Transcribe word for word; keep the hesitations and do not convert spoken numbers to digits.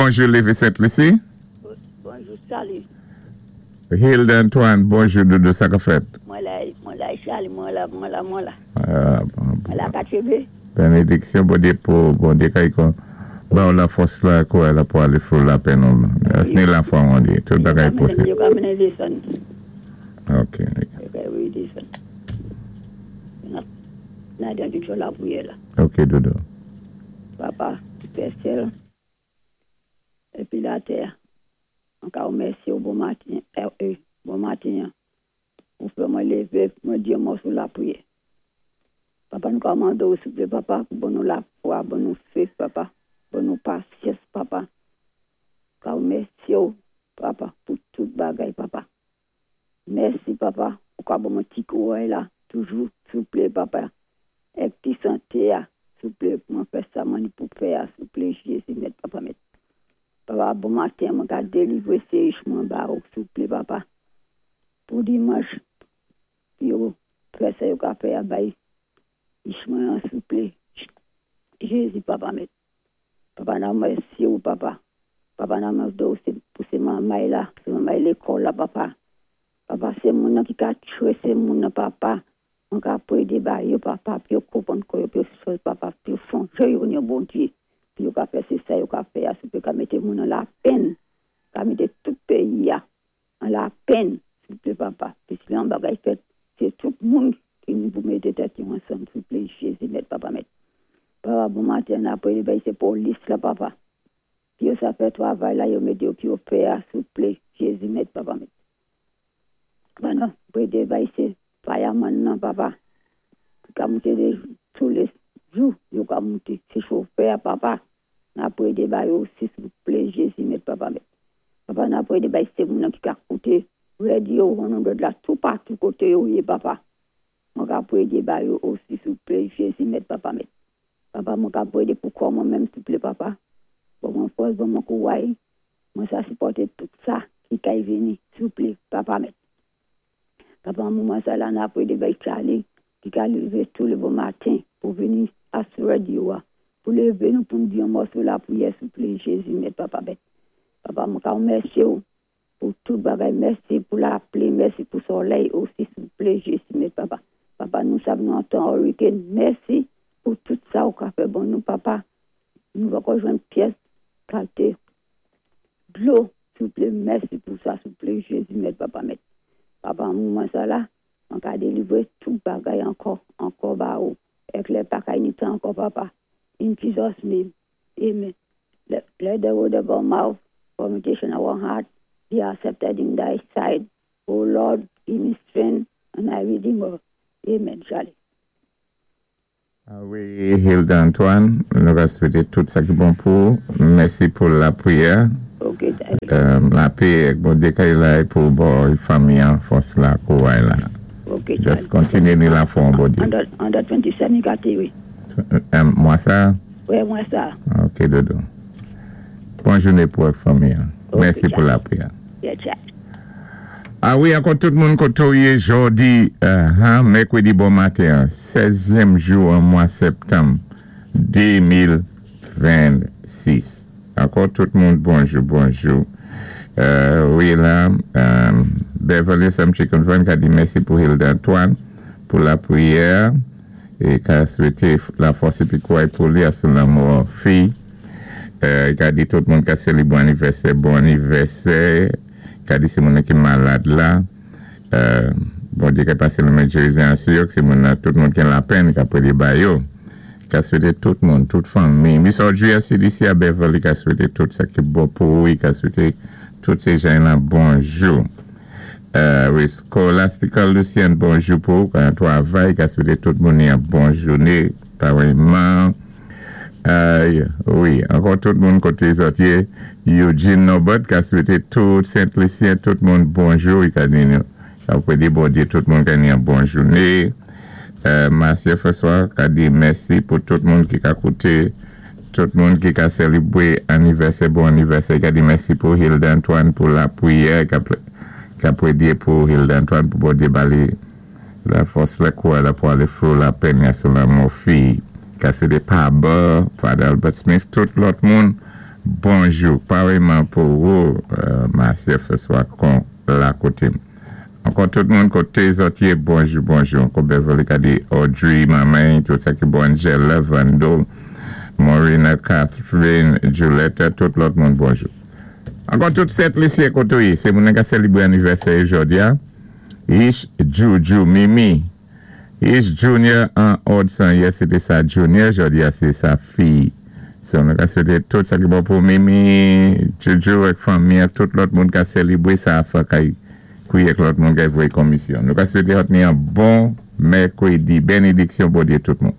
Bonjou, Lévé Sent-Lisi. Bonjou, Charlie. Hilda Antoine, bonjou, doudou, sa ka fèt? Mwen la, mwen la, Charlie, mwen la, mwen la, mwen la. Ah, bon, Mwen la katwévé. Bénédiksyon, Bondyé pou, Bondyé kay kon, ba ou lafòs la, kouray la pou alé fou lapenn nou. Ni lafwa, Bondyé, tout bagay posib. Yo ka mennen désann. Ok. Yo ka wé désann. Nan dan di lapriyè la. Ok, doudou. Papa, fè syèl. Épi latè. Ankò mèsi ou bon maten. Eh, eh, bon maten. Ou fè mwen lévé, mwen di yon mòso lapriyè. Papa, nou kòmandé souplé, papa, pou ban nou lafwa, ban nou fé, papa, ban nou pasyans, papa. Ka mèsi, papa, pou tout bagay, papa. Mèsi, papa, pou ka ban mwen ti kouray la, toujou, souplé, papa. Èk ti santé, souplé, pou mwen fè sa, mwen pou fè, souplé, Jézi, mèt, papa, mèt. Papa, bon maten, mwen ka délivré sé mwen ba ou, souplé, papa. Pou dimanch, yo, fè sa yo ka fè a bay. Mwen souplé. Jézi, papa, mèt. Papa, nan mèsi ou, papa. Papa, nan mèsi ou, sé pou sé manmay la, sé manmay lékòl la, papa. Papa, sé moun ki ka tjwé, sé moun papa. Mwen ka pwédé ba yo, papa, pi yo konpwann kò yo, pi yo chòz, papa, pi yo sonjé yo ni Bondyé. Pi yo ka fè sé sa yo ka fè, souplé ka mété moun an lapenn. Ka mété tout péyi a an lapenn, souplé, papa. Pi si yon bagay fèt, sé tout moun ki nou pou mété tèt yo ansanm, souplé, Jézi, mèt, papa, mèt. Papa, bon maten, apwé, ben, sé polis la, papa. Pi yo sa fè twavay la, yo mété yo pi yo fè, souplé, Jézi, mèt, papa, mèt. Bon, pwédé bay sé fireman nan, papa. Ki ka monté dé tou lé jou, yo ka monté. Sé chofè, papa. N ap pwédé ba yo osi, souplé, Jézi, mèt, papa, mèt. Papa, n ap pwédé bay sé moun ki ka kouté radyo, on de la tout partout koté yo yé, papa. Mwen ka pwédé ba yo osi, souplé, Jézi, mèt, papa, mèt. Papa, mwen ka pwédé pou kò mwen menm, souplé, papa. Ban mwen fòs, ban mwen kouray. Mwen sa sipòté tout sa ki kay vini, souplé, papa, mèt. Papa, moman sa la, n ap pwédé bay Charlie, ki ka lévé tou lé bon maten pou vini a sou radyo, pou lévé nou pou nou di yon mòso lapriyè, souplé, Jézi, mèt, papa, mèt. Papa, mwen ka mèsi pou tout bagay, mèsi pou lapli, mèsi pou solèy osi, souplé, Jézi, mèt, papa. Papa, nou sav nou an tan hurricane, mèsi pou tout sa ou ka fè ban nou, papa. Nou va jwenn pyès kalité dlo, souplé, mèsi pou sa, souplé, Jézi, mèt, papa, mèt. Papa, moman sa la, an ka délivré tout bagay ankò, ankò ba ou. Èk lè pa kay ni tan ankò, papa. In Jesus' name, amen. Let, let the word of our mouth, meditation of our heart be accepted in thy sight. O Lord, give me strength and my Redeemer. Amen. Charlie. Ah wi, Hilda Antoine, nou va swété tout sa ki bon pou. Mèsi pou lapriyè. Ok, Charlie. Euh, lapè, Bondyé kay la pou bon fanmi an fòs la, kouray la. Ok, Just Charlie. kontinyé ni lafwa an Bondyé. An the twenty-seven, gâté, wi. Euh, mwa sa? Wi, mwa sa. Ok, doudou. Bon jouné pou fanmi. An. Ok, Mèsi pou Charlie. lapriyè. Yeah, Charlie. Ah wi, ankò tout moun koto yé jòdi, euh, hein, mèkwédi bon maten, sèzyèm jou an mwa septanm de mil vennsis. Ankò tout moun bonjou, bonjou. Euh, wi la, euh, Beverly Samchi Convent ka di mèsi pou Hilda Antoine pou lapriyè é ka swété lafòs épi kouray pou li a sou lanmò fi. Euh, ka di tout moun ka sélibré bon anivèsè, bon anivèsè. Ka di sé moun ki malad la. Euh, Bondyé ka pasé lanmen gerizon sou yo, sé moun tout moun ki an lapenn, ka pwédé ba yo. Ka swété tout moun, tout fanmi. Miss Audrey C D C a Beverly ka swété tout sa ki bon pou ou, ka swété tout sé jan la bonjou. Euh, wi, Scholastica Lucien, bonjou pou ou, kan twavay, ka swété tout moun yon bon jouné, parèyman. Euh, wi, ankò tout moun koté zòt yé. Eugene Norbert ka swété tout Saint-Lucien, tout moun bonjou, i ka di nou, ka pwédé Bondyé tout moun ka ni yon bon jouné. Euh, Marcia François ka di mèsi pou tout moun ki ka kouté, tout moun ki ka sélibré anivèsè, bon anivèsè, ka di mèsi pou Hilda Antoine pou lapriyè, ka, ka pwédé pou Hilda Antoine pou Bondyé ba li lafòs la kouray la pou alé fou lapenn sou lanmò fi. Ka swété Paba, Father Albert Smith, tout lòt moun, Bonjou, paréyman pou ou, euh, Marcia François, kon la koté. Ankò tout moun koté zòt yé, bonjou, bonjou. Ankò Beverly ka di Audrey, maman, tout sa ki bon, Angela, Vando, Maureen, Catherine, Julietta, tout lòt moun, bonjou. Ankò tout Sent Lisi koté ou yé, sé moun ka sélibré anivèsè jòdi a. Ish, Juju, Mimi, Ish Junior an Odson, yes, sété sa Junior, jòdi a sé sa fi. So, nou ka swété tout sa ki bon pou Mimi, Juju ak fanmi, ak tout lòt moun ka sélibré sa a fwa kay kouye ak lòt moun kay voyé komisyon. Nou ka swété ni yon bon mèkwédi, bénidiksyon Bondyé tout moun.